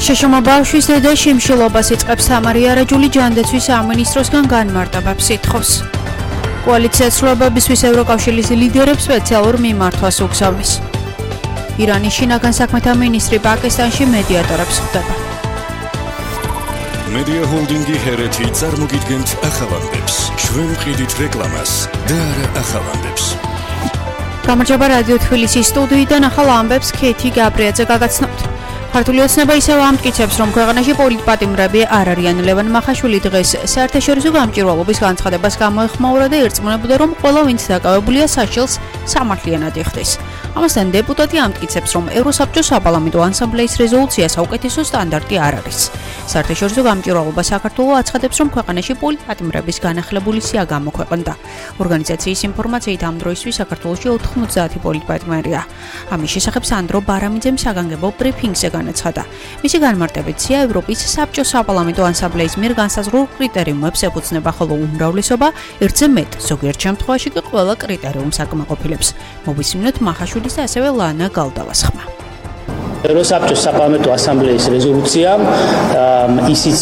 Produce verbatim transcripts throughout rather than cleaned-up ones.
შეშომა ბავშვის დედა შიმშილობას იწყებს თამარი არაჯული ჯანდაცვის სამინისტროსგან განმარტებებს ითხოვს. კოალიცია ცვლილებებისთვის ევროკავშირის ლიდერებს სპეციალურ მიმართვას უგზავნის. ირანის შინაგან საქმეთა მინისტრი პაკისტანში მედიატორებს ხვდება. მედია ჰოლდინგი ჰერეთი წარმოგიდგენთ ახალამდებს. ჩვენ ვყიდით რეკლამას და არა ახალამდებს. გამარჯობა რადიო თბილისის სტუდიიდან ახალ ამბებს ქეთი გაბრიაძე გაგაცნობთ. ქართული ოცნება ისევ ამტკიცებს, რომ ქვეყანაში პოლიტპატიმრები არ არიან. ლევან მახაშვილი დღეს საერთაშორისო გამჭვირვალობის განცხადებას გამოეხმაურა და ერწმუნებოდა, რომ ყველა ვინც დაკავებულია საშილს სამართლიანად იხდის. ამასთან დეპუტატი ამტკიცებს, რომ ევროსაბჭოს საპარლამენტო ასამბლეის რეზოლუცია საუკეთესო სტანდარტი არ არის. საერთაშორისო გამჭვირვალობა საქართველოს აცხადებს, რომ ქვეყანაში პოლიტპატიმრების განახლებული სია გამოქვეყნდა. ორგანიზაციის ინფორმაციით ამ დროისთვის საქართველოში ოთხმოცდაათი პოლიტპატიმრია. ამის შესახებ სანდრო ბარამიძემ საგანგებო ბრიფინგზე განაცხადა. მისი განმარტებით სია ევროპის საბჭოს საპარლამენტო ასამბლეის მიერ განსაზღვრულ კრიტერიუმებს ეფუძნება, ხოლო უმრავლესობა ერთზე მეტ, ზოგიერთ შემთხვევაში კი ყველა კრიტერიუმს აკმაყოფილებს. მოვისმინოთ მახაშვილის და ასევე ლანა გალდავას ხმა. ევროსაბჭოს საპარლამენტო ასამბლეის რეზოლუცია ისიც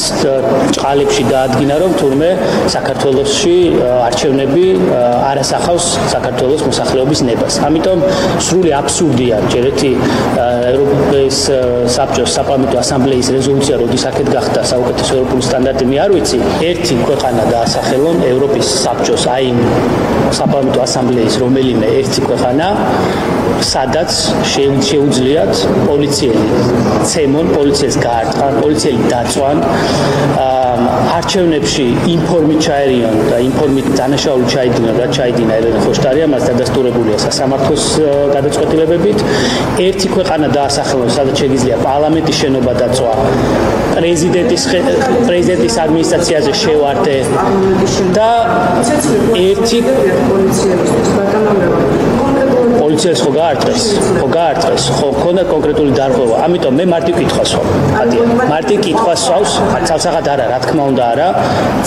ჭყალებში დაადგინა, რომ თურმე საქართველოში არჩევნები არ ასახავს საქართველოს მოსახლეობის ნებას. ამიტომ სრული აბსურდია ჯერ ერთი ევროპის საბჭოს საპარლამენტო ასამბლეის რეზოლუცია, როდის აქეთ გახდა საუკეთესო ევროპული სტანდარტი, მე არ ვიცი. ერთი ქვეყანა დაასახელონ ევროპის საბჭოს აი საპარლამენტო ასამბლეის რომელიმე ერთი ქვეყანა, სადაც შეუძლიათ პოლიციელი ცემონ, პოლიციელს გაარტყან, პოლიციელი დაწვან, არჩევნებში ინფორმით ჩაერიონ და ინფორმით დანაშაული ჩაიდინონ, რაც ჩაიდინა ელენე ხოშტარია, მას დადასტურებულია სასამართლოს გადაწყვეტილებებით. ერთი ქვეყანა დაასახელონ, სადაც შეგიძლია პარლამენტის შენობა დაწვა, პრეზიდენტის პრეზიდენტის ადმინისტრაციაზე შევარდე და ერთი პოლიციას ხო გაარტყეს, ხო გაარტყეს, ხო ქონდა კონკრეტული დარღვევა. ამიტომ მე მარტივ კითხვას ვსვამ. მარტივ კითხვას ვსვავს, ცალსახად არა, რა თქმა უნდა არა,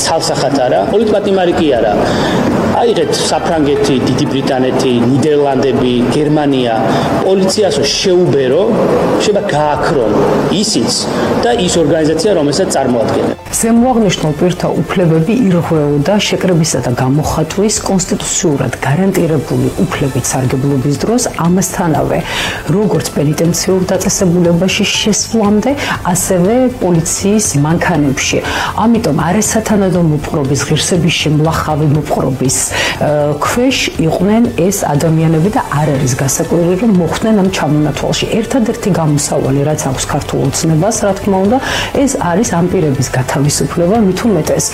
ცალსახად არა, პოლიტპატიმარი კი არა. აიღეთ საფრანგეთი, დიდი ბრიტანეთი, ნიდერლანდები, გერმანია, პოლიციას შეუბერო, შეიძლება გააქრონ ისიც და ის ორგანიზაცია, რომელსაც წარმოადგენენ. ზემოაღნიშნულ პირთა უფლებები ირღვეოდა შეკრებისა და გამოხატვის კონსტიტუციურად გარანტირებული უფლებით სარგებლობის დროს, ამასთანავე როგორც პენიტენციურ დაწესებულებაში შესვლამდე, ასევე პოლიციის მანქანებში. ამიტომ არასათანადო მოპყრობის, ღირსების შემლახავი მოპყრობის ქვეშ იყვნენ ეს ადამიანები და არ არის გასაკვირი, რომ მოხვდნენ ამ ჩამონათვალში. ერთადერთი გამოსავალი, რაც აქვს ქართულ ოცნებას, რა თქმა უნდა, ეს არის ამ პირების გათავისუფლება, მით უმეტეს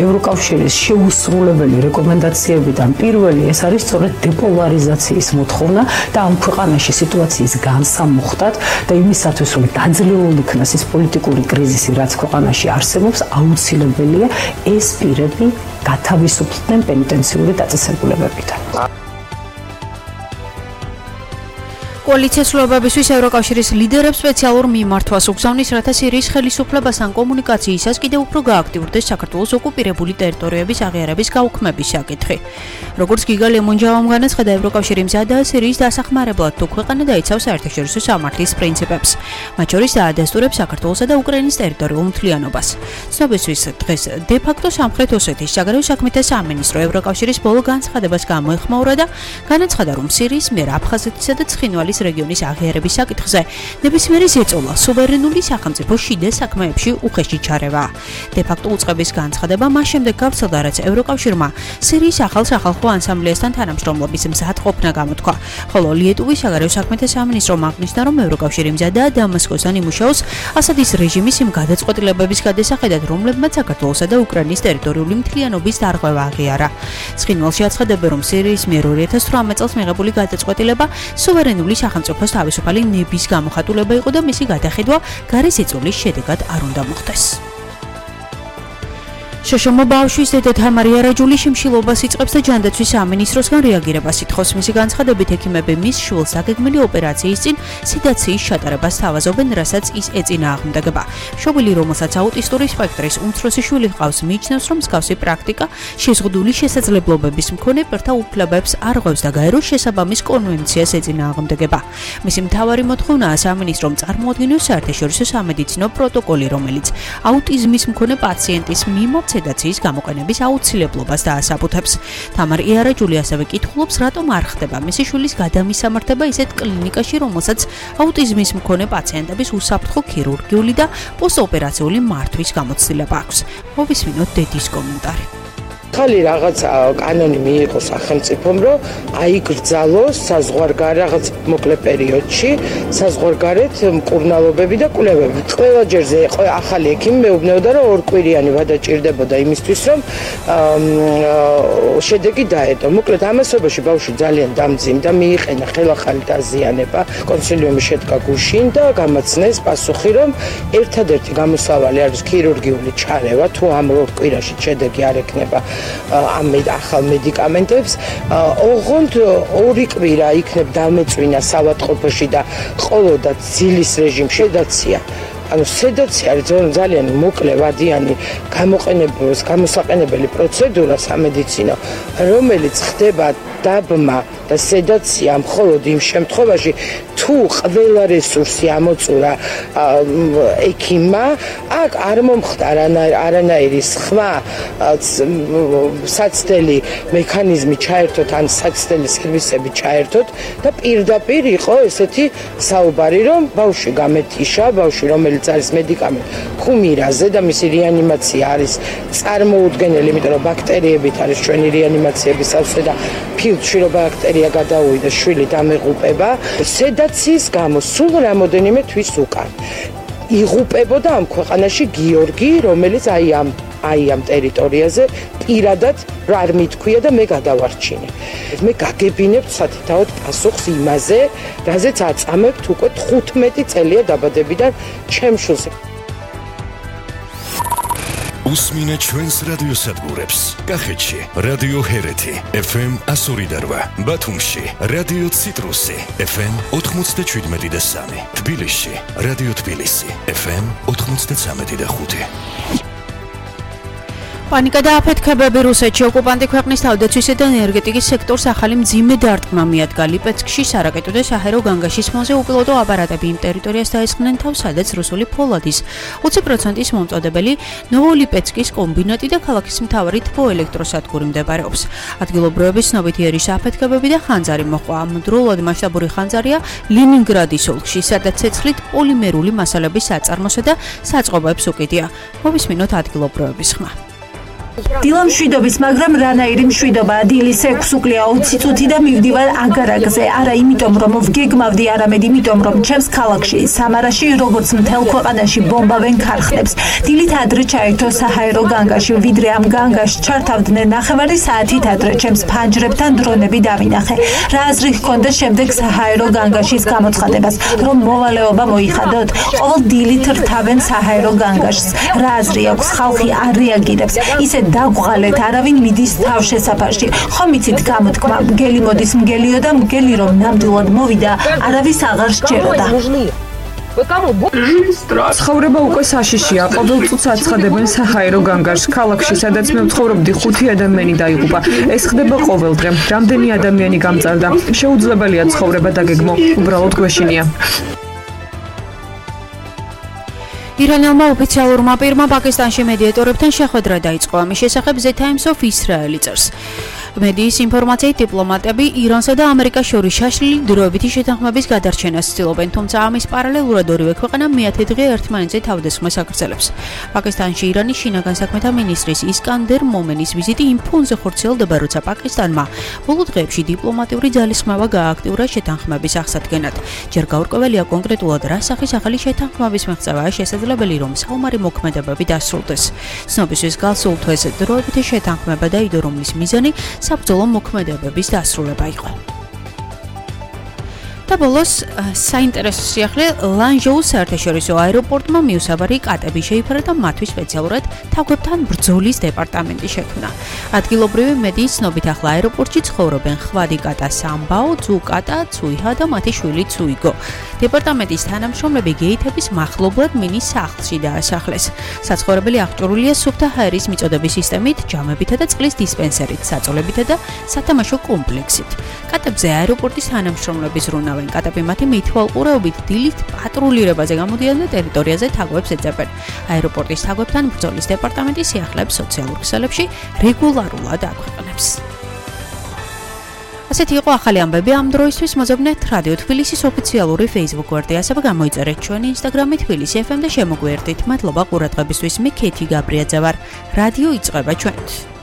ევროკავშირის შეუსრულებელი რეკომენდაციებიდან პირველი ეს არის სწორედ დეპოლარიზაციის მოთხოვნა და ამ ქვეყანაში სიტუაციის განსამუხტად და იმისათვის, რომ დაძლეულ იქნას ის პოლიტიკური კრიზისი, რაც ქვეყანაში არსებობს, აუცილებელია ეს პირები გათავისუფლდნენ პენიტენციური დაწესებულებებიდან. კოალიცია ცვლილებებისთვის ევროკავშირის ლიდერებს სპეციალურ მიმართვას უგზავნის, რათა სირიის ხელისუფლებასთან კომუნიკაციისას კიდევ უფრო გააქტიურდეს საქართველოს ოკუპირებული ტერიტორიების აღიარების გაუქმების საკითხი. როგორც გიგა ლემონჯავამ განაცხადა, ევროკავშირი მზადაა სირიის დასახმარებლად, თუ ქვეყანა დაიცავს საერთაშორისო სამართლის პრინციპებს. მათ შორის დაადასტურებს საქართველოსა და უკრაინის ტერიტორიულ მთლიანობას. ცნობისთვის დღეს დე-ფაქტო სამხრეთ ოსეთის საგარეო საქმეთა სამინისტრო ევროკავშირის ბოლო განცხადებას გამოეხმაურა და განაცხადა, რომ სირიის მიერ აფხაზეთისა და ცხინვალის რეგიონის აღიარების საკითხზე ნებისმიერი ზეწოლა სუვერენული სახელმწიფოს შიდა საქმეებში უხეში ჩარევა. დე-ფაქტო უწყების განცხადება მას შემდეგ გავრცელდა, რაც ევროკავშირმა სირიის ახალ სახალხო ასამბლეასთან თანამშრომლობის მზადყოფნა გამოთქვა, ხოლო ლიეტუვის საგარეო საქმეთა სამინისტრომ აღნიშნა, რომ ევროკავშირი მზადაა დამასკოსთან იმუშაოს ასადის რეჟიმის იმ გადაწყვეტილებების გადასახედად, რომლებმაც საქართველოსა და უკრაინის ტერიტორიული მთლიანობის დარღვევა აღიარა. ცხინვალში აცხადებენ, რომ სირიის მიერ ორი ათას თვრამეტ წელს მიღებული გადაწყვეტილება სუვერენული სახელმწიფოს თავისუფალი ნების გამოხატულება იყო და მისი გადახედვა გარე ზეწოლის შედეგად არ უნდა მოხდეს. შოშომო ბავშვის დედა თამარ იარაჯული შიმშილობას იწყებს და ჯანდაცვის სამინისტროსგან რეაგირებას ითხოვს. მისი განცხადებით, ექიმები მის შვილს დაგეგმილი ოპერაციის წინ სედაციის ჩატარებას თავაზობენ, რასაც ის ეწინააღმდეგება. მშობელი, რომელსაც აუტისტური სპექტრის უმცროსი შვილი ჰყავს, მიიჩნევს, რომ მსგავსი პრაქტიკა შეზღუდული შესაძლებლობების მქონე პირთა უფლებებს არ ღვევს და გაეროს შესაბამის კონვენციას ეწინააღმდეგება. მისი მთავარი მოთხოვნაა სამინისტრომ წარმოადგინოს საერთაშორისო სამედიცინო პროტოკოლი, რომელიც აუტიზმის მქონე პაციენტის მიმართ სედაციის გამოყენების აუცილებლობას დაასაბუთებს. თამარ იარაჯული ასევე კითხულობს, რატომ არ ხდება მისი შვილის გადამისამართება ისეთ კლინიკაში, რომელსაც აუტიზმის მქონე პაციენტების უსაფრთხო ქირურგიული და პოსტოპერაციული მართვის გამოცდილება აქვს. მოვისმინოთ დედის კომენტარი. ხალი რაღაც კანონი მიიღო სახელმწიფომ, რომ აიგრძალოს საზღვარგარეთ რაღაც მოკლე პერიოდში საზღვარგარეთ მკურნალობები და კვლევები. ყველა ჯერზე ახალი ექიმი მეუბნებოდა, რომ ორ კვირიანი ვადაჭირდებოდა იმისთვის, რომ შედეგი დაედო. მოკლედ ამასობაში ბავშვი ძალიან დამძიმდა, მიიყენა ხელახალი დაზიანება, კონსილიუმი შედგა გუშინ და გამაცნეს პასუხი, რომ ერთადერთი გამოსავალი არის ქირურგიული ჩარევა, თუ ამ ორ კვირაში შედეგი არ ექნება ამ ახალ მედიკამენტებს. ოღონდ ორი კვირა იქნებ დამეწვინა სავადყოფოში და ყოლოდა ძილის რეჟიმში სედაცია. ანუ სედაცია არის ძალიან მოკლე ვადიანი გამოყენებლის გამოსაყენებელი პროცედურა სამედიცინო, რომელიც ხდება დაბმა და სედაცია მხოლოდ იმ შემთხვევაში, თუ ყველა რესურსი ამოწურა ექიმმა, აქ არ მომხდარ არანაირი სხვა საცდელი მექანიზმი ჩაერთოთ, ან საცდელი სერვისები ჩაერთოთ და პირდაპირ იყო ესეთი საუბარი, რომ ბავშვი გამეთიშა, ბავშვი რომელიც არის მედიკამენტ ქუმირაზე და მისი რეანიმაცია არის წარმოუდგენელი, იმიტომ რომ ბაქტერიებით არის ჩვენი რეანიმაციების სავსე და ფილტვში რომ ბაქტერია გადაუვიდა, შვილი დამეღუპება. სედაციის გამო სულ რამოდენიმე თვის უკან იღუპებოდა ამ ქვეყანაში გიორგი, რომელიც აი ამ აი ამ ტერიტორიაზე პირადად არ მithქვია და მე გადავარჩინე. მე გაგებინებთ სათითაოდ პასუხს იმაზე, რაზეც აწამებთ უკვე თხუთმეტი წელია დაბადებიდან ჩემ შვილს. უსმინეთ ჩვენს რადიოსადგურებს. კახეთში რადიო ჰერეთი ეფ ემ εκατო ორი და რვა, ბათუმში რადიო ციტრუსი ეფ ემ ოთხმოცდაშვიდმეტი და სამი, თბილისში რადიო თბილისი ეფ ემ ოთხმოცდაცამეტი და ხუთი. პანიკა და აფეთქებები რუსეთში ოკუპანტი ქვეყნის თავდაცვისა და ენერგეტიკის სექტორს ახალი მძიმე დარტყმა მიადგა. ლიპეცკში სარაკეტო და საჰაერო განგაშის მოზე უპილოტო აპარატები იმ ტერიტორიას დაესხნენ თავს, სადაც რუსული ფოლადის ოცი პროცენტის მომწოდებელი ნოვოლიპეცკის კომბინატი და ქალაქის მთავარი თბოელექტროსადგური მდებარეობს. ადგილობრივების ცნობით იერიშ აფეთქებები და ხანძარი მოყვა. ამავდროულად მასშტაბური ხანძარია ლენინგრადის ოლქში, სადაც ცეცხლით პოლიმერული მასალების საწარმოსა და საწყობებს უკიდია. მოვისმინოთ ადგილობრივების ხმა. დილა მშვიდობის, მაგრამ რანაირი მშვიდობა. დილის ექვსი უკლია ოცი წუთი და მივდივარ აგარაკზე. არა იმიტომ, რომ ვგეგმავდი, არამედ იმიტომ, რომ ჩემს ქალაქში, სამარაში, როგორც მთელ ქვეყანაში ბომბავენ ქარხნებს. დილით ადრე ჩაერთო საჰაერო განგაში, ვიდრე ამ განგაშს ჩართავდნენ ნახევარი საათით ადრე ჩემს ფანჯრებთან დრონები დავინახე. რა აზრი ჰქონდა შემდეგ საჰაერო განგაშის გამოცხადებას, რომ მოვალეობა მოიხადოთ? ყოველ დილით რთავენ საჰაერო განგაშს. რა აზრი აქვს, ხალხი არ რეაგირებს. ისე დაგვღალეთ, არავინ მიდის თავშესაფარში. ხომ იცით გამოთქმა, მგელი მოდის მგელიო და მგელი რომ ნამდვილად მოვიდა, არავის აღარ სჯეროდა. ცხოვრება უკვე საშიშია. ყოველ წუთს აცხადებენ საჰაერო განგაშს. ქალაქში, სადაც მე ვცხოვრობდი, ხუთი ადამიანი დაიღუპა. ეს ხდება ყოველ დღე. რამდენი ადამიანი გამწარდა. შეუძლებელია ცხოვრება დაგეგმო. უბრალოდ გვეშინია. ირანელმა ოფიციალურმა პირმა პაკისტანში მედიატორებთან შეხვედრა დაიწყო. ამის შესახებ The Times of Israel წერს. მედიის ინფორმაციით დიპლომატები ირანსა და ამერიკას შორის შაშლილი დროებითი შეთანხმების გადარჩენას ცდილობენ, თუმცა ამის პარალელურად ორივე ქვეყანა მეათე დღე ერთმანეთზე თავდასხმას აგრძელებს. პაკისტანში ირანის შინაგან საქმეთა მინისტრის ისკანდერ მომენის ვიზიტი იმ ფონზე ხორციელდება, როცა პაკისტანმა ბოლო დღეებში დიპლომატიური ძალისხმევა გააქტიურა შეთანხმების აღსადგენად. ჯერ გაურკვეველია კონკრეტულად რა სახის ახალი შეთანხმების მიღწევაა შესაძლებელი, რომ საომარი მოქმედებები დასრულდეს. ცნობისთვის გასულ თვეს დროებითი შეთანხმება დაიდო, რომლის მიზანი საბრძოლო მოქმედებების დასრულება იყო. და ბოლოს საინტერესო სიახლე ლანჟოუს საერთაშორისო აეროპორტმა მიუსაბარი კატები შეიფარა და მათთვის სპეციალურად თაგვებთან ბრძოლის დეპარტამენტი შექმნა. ადგილობრივი მედიის ცნობით ახლა აეროპორტში ცხოვრობენ ხვადი კატა სამბაო, ძუ კატა, ცუიჰა და მათი შვილი ცუიგო. დეპარტამენტის თანამშრომლები გეითების მახლობლად მინის სახლში დაასახლეს. საცხოვრებელი აღჭურვილია სუფთა ჰაერის მიწოდების სისტემით, ჯამებითა და წყლის დისპენსერით, საწოლებითა და სათამაშო კომპლექსით. კატებზე აეროპორტის თანამშრომლები ზრუნავენ. კატები მათი მითვალყურეობით დილით პატრულირებაზე გამოდიან და ტერიტორიაზე თაგვებს ეძებენ. აეროპორტის თაგვებთან ბრძოლის დეპარტამენტი სიახლეებს სოციალურ ქსელებში რეგულარულად აქვეყნებს. ასეთი იყო ახალი ამბები ამ დროისთვის. მოზოგნეთ რადიო თბილისის ოფიციალური Facebook გვერდი, ასევე გამოიწერეთ ჩვენი Instagram-ი თბილისი ეფ ემ და შემოგვიერთდით. მადლობა ყურადღებისთვის. მე ქეთი გაბრიაძე ვარ. რადიო იწყება ჩვენით.